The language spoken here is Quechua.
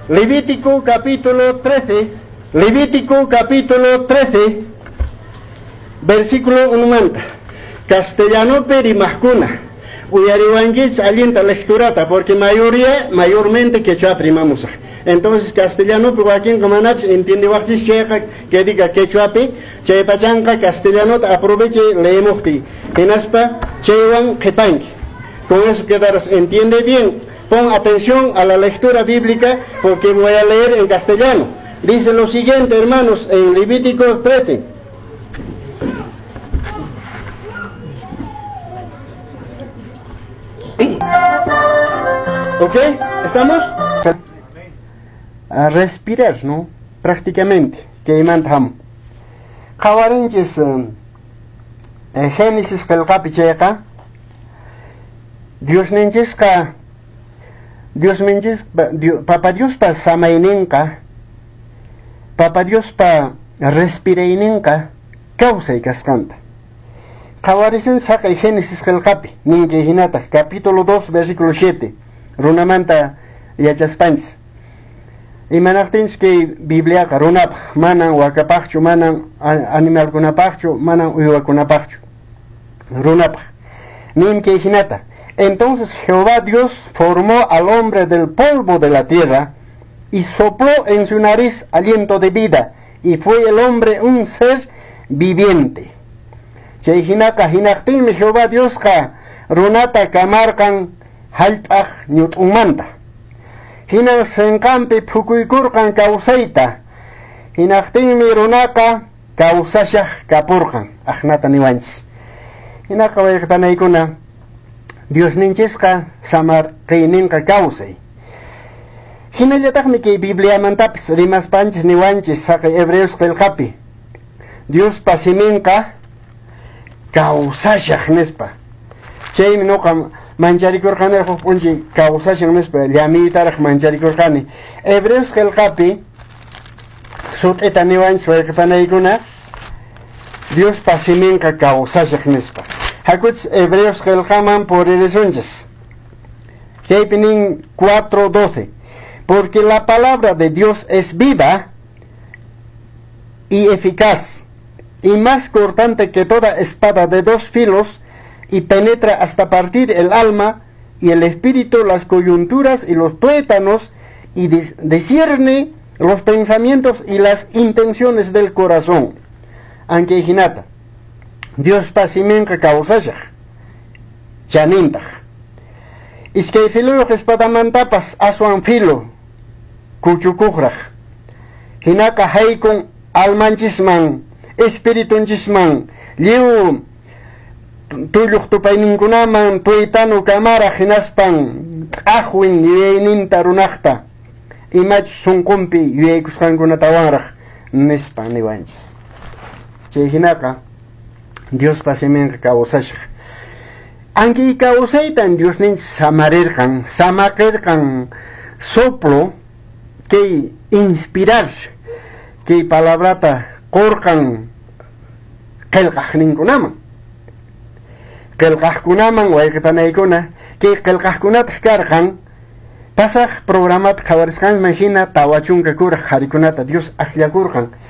Levítico capítulo 13, Levítico capítulo 13, versículo 1 manta. Castellanopi rimaqkuna. Uyariwankichis allinta lecturata, porque mayoría, mayormente quechua rimamusaq. Entonces castellanopi wakinqa manachus entiendewaqchis chayqa que diga quechuapi, chay pachanqa castellanota aproveche leemuqti. Hinaspa chaywan qhipanki. Con eso quedarás, entiende bien. Pon atención a la lectura bíblica porque voy a leer en castellano. Dice lo siguiente, hermanos, en Levítico 13. ¿Ok? ¿Estamos? A respirar, ¿no? Prácticamente. Que imanta. Qhawarinchis Génesis qillqapi chayqa Diosninchisqa Diosninchis Papa Diospa samayninqa Papa Diospa respirayninqa kawsay kasqanta. Qhawarisun saqay Génesis qillqapi ninki hinataq capítulo 2 versículo 7 runamanta yachaspanchis. Imanaqtinchis kay Bibliaqa runapaq manan wakapaqchu, manan animalkunapaqchu, manan uywakunapaqchu, runapaq. Nin kay hinata. Entonces Jehová Dios formó al hombre del polvo de la tierra y sopló en su nariz aliento de vida, y fue el hombre un ser viviente. Chay hinaqa hinaqtinmi Jehová Diosqa runata kamarqan hallp'aq ñut'unmanta. Hinan sinqanpi phukuykurqan kawsayta. Hinaqtinmi runaqa kawsashaq kapurqan. Aqnata niwanchis. Hinaqa wayqipanaykuna Diosninchisqa samarqiyninqa kawsay. Hinallataqmi kay Bibliamantapis rimaspanchis niwanchis saqay Hebreos qillqapi. Diospa siminqa kawsashaq nispa. Chaymi nuqa mancharikurqani huk p'unchay kawsashan nispa llamiytaraq mancharikurqani. Hebreos qillqapi sut'ita niwanchis wayqipanaykuna Diospa siminqa kawsashaq nispa. Hakuchis Hebreos qillqaman puririsunchis. Kaypi nin 4:12. Porque la palabra de Dios es viva y eficaz, y más cortante que toda espada de dos filos, y penetra hasta partir el alma y el espíritu, las coyunturas y los tuétanos, y discierne los pensamientos y las intenciones del corazón. Aunque hinata, Diospa siminqa kawsashaq, chanintaq. Iskay filuyuq espadamantapas aswan filo kuchukuqraq. Hinaqa haykun almanchisman, espiritunchisman, lliw tulluq tupayninkunaman tuitanu kamaraq hinaspan t'aqwin yuyayninta runaqta imachus sunqunpi yuyaykusqankunatawanraq nispa niwanchis. Chay hinaqa Diospa siminqa kawsashaq. Anki kawsaytan Diosninchis samarirqan, samaqirqan soplo kay inspirar kay palabrata qurqan qillqaqninkunaman. Qillqaqkunaman wayqipanaykuna kay qillqaqkunataq karqan pasaq programapi qhawarisqanman hina 40 kuraq qharikunata Dios akllakurqan.